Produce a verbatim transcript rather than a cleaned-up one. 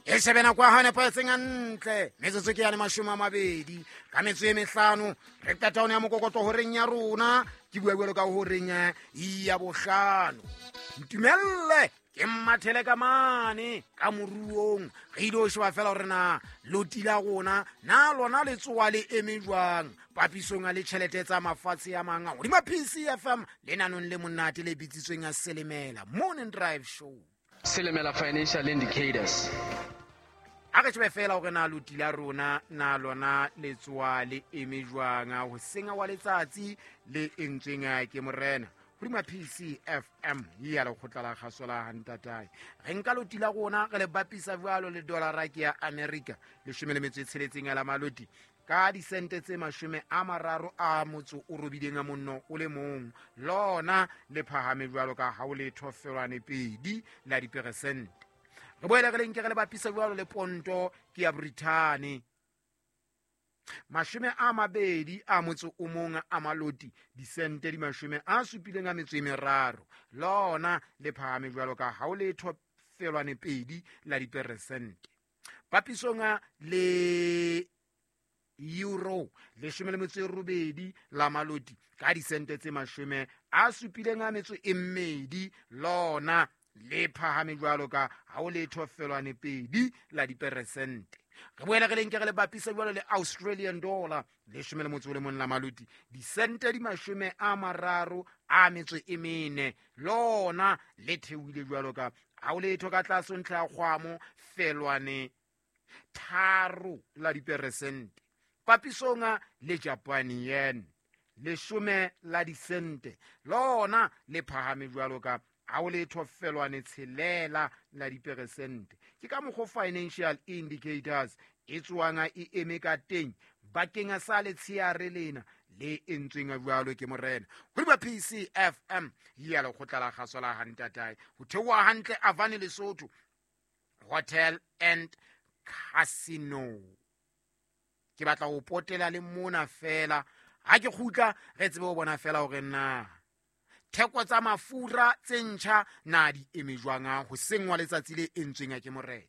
E shebe nako ya hao nepahetseng hantle, metsotso ke yane mashome a mabedi ka metso e mehlano, re qeta one ya mokokotlo horeng ya rona. Ke bua jwalo ka horeng ya bohlano. Ntumelle ke mmathele ka mane ka moruong, re ile ho sheba fela hore na loti la rona na lona le tsoa le eme jwang papisong a le tjhelete tsa mafatshe a mang. Hodima P C F M lenanong le monate le bitsitsweng a Selemela Morning Drive Show. Selemela Financial Indicators. A re shebe fela hore na loti la rona na lona le tsoa le eme jwang ho senga wa letsatsi le entsweng ke morena. Hodima P C F M ya lekgotla la kgaso la Hantatae. Re nka loti la rona re le bapisa jwalo le dollara ke ya America leshome le metso e tsheletseng ya la maloti ka disente tse mashome a mararo a motso o robileng a monno o le mong, lona le phahame jwalo ka ha o le thofelwane pedi la diperesente. Re boele re le nke re le bapisa jwalo le ponto ke ya Brithani mashome a mabedi a motso o mong a maloti disente di mashome a supileng a metso e meraro, lona le phahame jwalo ka ha o le thofelwane pedi la diperesente. Papisong le euro leshome le metso e robedi la maloti ka disente tse mashome a supileng a metso e mmedi, lona le phahame jwalo ka ha o le thofelwane pedi la diperesente. Re boele re le nke re le bapisa jwalo le Australian dollar leshome le motso o le mong la maloti disente di mashome a mararo a metso e mene, lona le theohile jwalo ka ha o letho ka tlase ntlha ya kgwamo felwane tharo la diperesente. Papisong le Japan yen leshome la disente, lona le phahame jwalo ka ha o letho felwane tshelela la diperesente. Ke ka mokgwa Financial Indicators e tswang e eme ka teng bakeng sa letsheare lena le entsweng jwalo ke morena. Hodima P C F M ya lekgotla la kgaso la Hantatae ho theoha hantle Avane Lesotho Hotel and Casino. Ke batla ho potela le mona fela ha ke kgutla re tsebe ho bona fela hore na theko tsa mafura tse ntjha na di eme jwang ho sengwa letsatsi le entsweng ke morena.